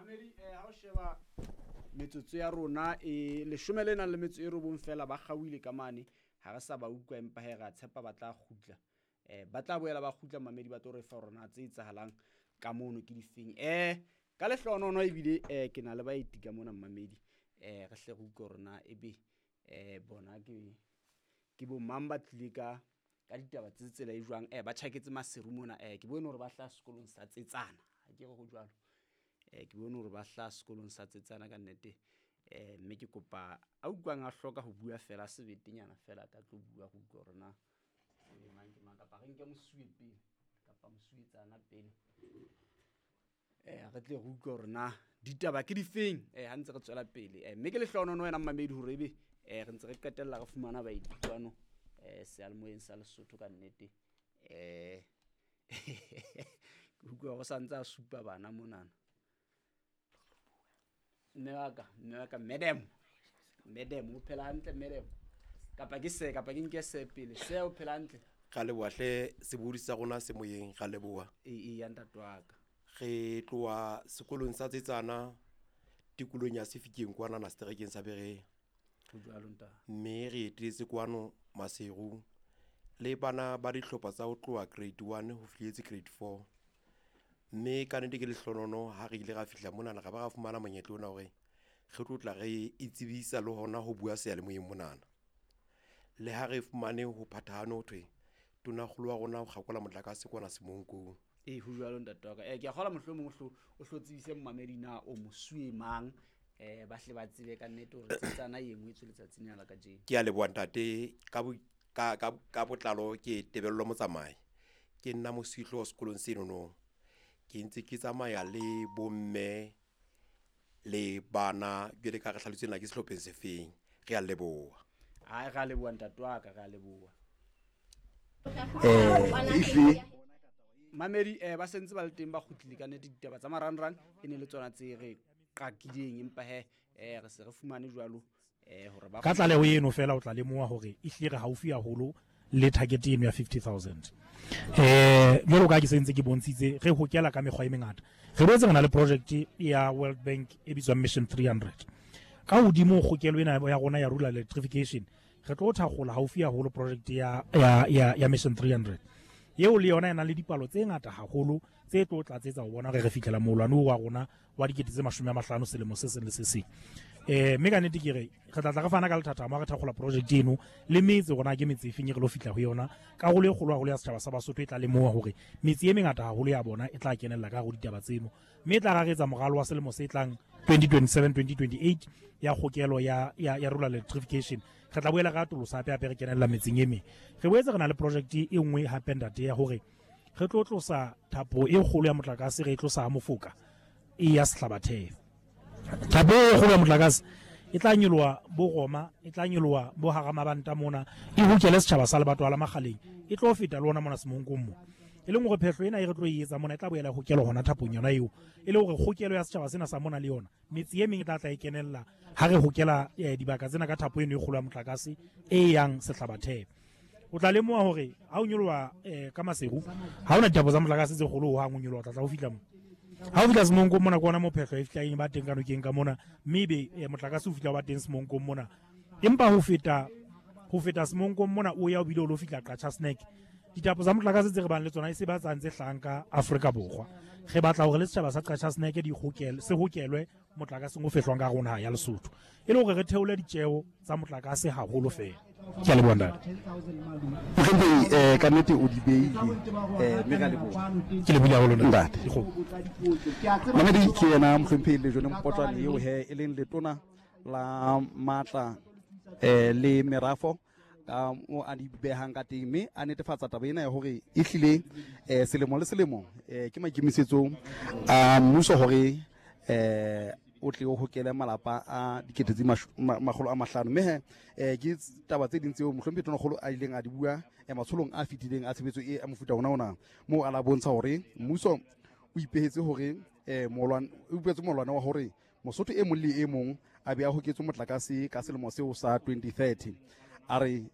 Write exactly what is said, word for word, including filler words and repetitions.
Mamedi, eh ha o sheba metsotso ya rona e leshome le nang le metso e robong fela ba kgaohile ka mane, ha re sa ba utlwa, empa he re a tshepa ba tla kgutla. Eh ba tla boela ba kgutla mamedi, ba tlo re fa hore na tse etsahalang ka mono ke difeng. Eh ka lehlohonono ebile eh ke na le baeti ka mona mamedi, eh re hle re utlwe hore na ebe eh bona ke ke bo mang ba tlile ka ka ditaba tse tsela e jwang. Eh ba tjhaketse Maseru mona, eh ke bone hore ba hlaha sekolong sa Tsetsana, ha ke re ho jwalo. Eh ke bone hore ba hlaha sekolong sa Tsetsana ka nnete. Eh mme ke kopa a utlwang a hloka ho bua fela sebetenyana fela ka tlo bua go utlwa hore na ebe mang ke mang, kapa re nke mosuwe pele kapa mosuwetsana pele, eh re tle re utlwe hore na ditaba ke difeng eh ha ntse re tswela pele. Eh mme ke lehlohonono wena mamedi hore ebe eh re ntse re qetella re fumana baeti kwano eh seyalemoyeng sa Lesotho ka nnete. Eh ke utlwa go santse a supa bana monana. Mme wa ka, mme wa ka, madam, madam o phela hantle madam, kapa ke se, kapa ke nke se pele, se o phela hantle? Ra leboha hle sebodi sa rona se moyeng, ra leboha. E e ya ntate wa ka. Re tloha sekolong sa Tsetsana tikolong ya Sefikeng kwana seterekeng sa Berea. Ho jwalo ntate. Mme re etetse kwano Maseru le bana ba dihlopha tsa ho tloha grade one ho fihletse grade four. Mme ka nnete ke lehlohonono ha re ile ra fihla monana, ra ba ra fumana monyetla ona hore re tlo tla re itsebisa le hona ho bua seyalemoyeng monana. Le ha re fumane ho phathahane ho thwe tonakgolo wa rona o kgakola motlakase kwana Semonkong. Ee, ho jwalo ntate wa ka. Eh ke a kgolwa mohlomong o hlo o hlo tsebise mmamedi na o mosuwe mang, eh ba hle ba tsebe ka nnete hore Tsetsana e ngwetswe letsatsing lena la kajeno. Ke a leboha ntate, ka bo ka ka ka botlalo ke Tebello Motsamai. Ke nna mosuwehlooho sekolong senono. Ke ntse ke tsamaya le bomme le bana jwale ka re hlalositse na ke sehlopheng se feng. Re a leboha. Ai re a leboha ntate wa ka, re a leboha. Eh ehlile Mamedi, eh ba sentse ba le teng ba kgutlile ka nnete. Ditaba tsa marangrang e ne le tsona tse re qakileng, empa he eh re se re fumane jwalo eh hore ba ka tlaleho eno fela o tla lemoha hore ehlile re haufi haholo le target eno ya fifty thousand. Eh jwalo ka ke sentse ke bontshitse, re hokela ka mekgwa e mengata. Re boetse re na le project ya World Bank e bitswang Mission three hundred. Ka hodimo kgokelo ena ya rona ya rural electrification, re tlo thakgola haufi haholo project ya, ya, ya, ya Mission three hundred. Eo le yona e na le dipalo tse ngata haholo tse tlo tlatsetsa ho bona hore re fihlela moholwane oo wa rona wa dikete tse mashome a mahlano selemo se seng le se seng. Eh mme ka nnete ke re re tla tla re fana ka lethathamo ha re thakgola project eno le metse rona ke metse e feng e re lo fihla ho yona. Karolo e kgolo haholo ya setjhaba sa Basotho e tla lemoha hore metse e mengata haholo ya bona e tla kenella ka hare ho ditaba tseno, mme e tla raretsa moralo wa selemo se tlang twenty twenty-seven twenty twenty-eight ya kgokelo ya, ya, ya rural electrification. Re tla boela re atolosa hape hape re kenella metseng e meng. Re boetse re na le project e nngwe hape ntate ya hore re tlo tlosa thapo e kgolo ya motlakase, re e tlosa ha Mofoka e ya Sehlabathebe. Thapo e kgolo ya motlakase e tla nyoloha bo Roma, e tla nyoloha bo hara mabanta mona, e hokele setjhaba sa lebatowa la Makgaleng, e tlo feta le ona mona Semonkong mo. E leng hore phehlo ena e re tlo e etsa mona e tla boela e hokelwa hona thapong yona eo, e le hore kgokelo ya setjhaba sena sa mona le yona metse e meng e tla tla e kenella ha re hokela, eh, dibaka tsena ka thapo eno e kgolo ya motlakase e yang Sehlabathebe. O tla lemoha hore ha o nyoloha, eh, ka Maseru, ha hona dithapo tsa motlakase tse kgolo hohang o nyoloha, o tla tla o fihla mo. Ha o fihla Semonkong mona ke ona mo phehlo e fihlang e ba teng ka nokeng ka mona, mme ebe, eh, motlakase o fihla o ba teng Semonkong mona. Empa ho feta, ho feta Semonkong mona o ya o bile o lo fihla Qacha's Nek. Dithapo tsa motlakase tse re bang le tsona e se ba tsang tse hlahang ka Afrika Borwa. Re batla hore le setjhaba sa Qacha's Nek di hokele, se hokelwe motlakaseng o fehlwang ka rona ya Lesotho, e le hore re theole ditjeo tsa motlakase haholo fela. Ke a leboha ntate. Mohlomphehi, eh ka nnete o di beile, eh mme ra leboha. Ke lebohile haholo ntate. Dikgomo. Mamedi ke yena mohlomphehi Lejone Mpotjoane eo he e leng letona la matla, eh le merafo ka mo a di behang ka teng, mme a netefatsa taba ena ya hore ehlile, eh, selemo le selemo, eh, ke maikemisetso a mmuso hore, eh, o tle o hokele malapa a dikete tse masho-, ma-, makgolo a mahlano. Mme he, eh, ke taba tse ding tseo mohlomphehi Tonakgolo a ileng a di bua, eh, matsholong a fetileng a tshebetso e a mofuta ona ona, moo a la bontsha hore mmuso o ipehetse hore, eh, molwane, o ipehetse molwane wa hore Mosotho e mong le e mong a be a hoketswe motlakase ka selemo seo sa twenty thirty. A re,